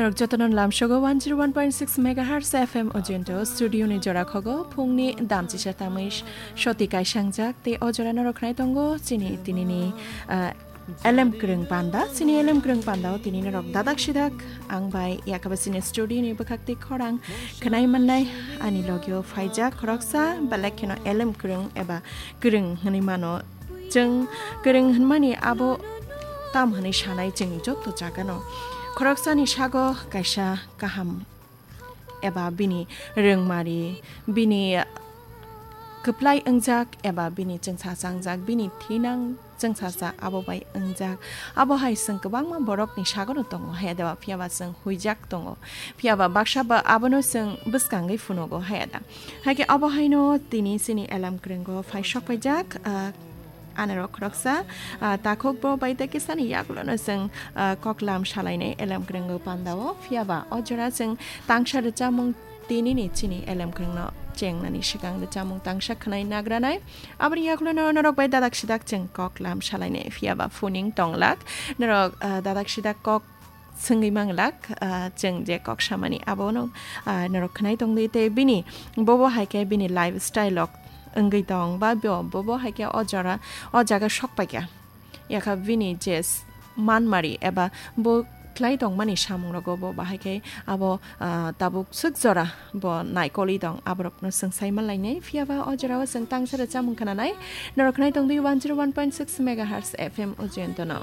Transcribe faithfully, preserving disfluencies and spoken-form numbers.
Norok jotono lamsogo one zero one point six megahertz F M ojento studio ni jora khogo phungni damchisa tamwi soti kaisangjak tei o jora norok khnai tongo chini tinini, ah, elem kwrwng panda, chini elem kwrwng panda o tini norok dadak sidak ang bai yakaba chini studio ni bwkhak tei khorang khnai mannai ani logio phaijak khoroksa belek kheno elem kwrwng eba kwrwng hwnwi mano. Chwng kwrwng hwnmani abo tam hwnwi sanai chwng joto jagano. Khoroksani sago kaisa kaham eba bini rwngmari, bini kwplai wngjak eba bini chwngsacha wngjak, bini thinang chwngsacha abo bai wngjak. Abo hai chwng kwbangma borokni sagono tongo, haya da, phiya ba chwng huijak tongo, phiya ba baksa ba abono chwng bwskangwi phunugo, haya da. Hai khe abo haino tini chini elem kwrwngo phai sok paijak, ah, anorok khoroksa, ah, takhuk bo bai tei kisani yagulono chwng, ah, koklam salainai elem kwrwngo pandao. Phiya ba o jora chwng tangsa rwchapmung tinini chini elem kwrwngno chengnani swkang rwchapmung tangsa khwnai nagranai. Aboni yagulono norok bai dadak sidak chwng koklam salainai. Phiya ba phuning tonglak norok, ah, dadak sidak kok swngwi manglak, ah, chwng je kok samani abono, ah, norok khnai tongdi tei bini bobo hai khe bini lifestyle rok wngwi tong ba bo, bobo hai khe o jora, o jaga sok paikha. Yakha bini je s-, manmari eba bo khlai tongmani samung rogo bo bahai khe abo, ah, tabuk swk jora bo naikolwi tong aborokno chwng sai manlainai. Phiya ba o jorao chwng tangsa rwchapmung khnanai. Norok khnai tongdi one zero one point six megahertz F M Ujjayantono.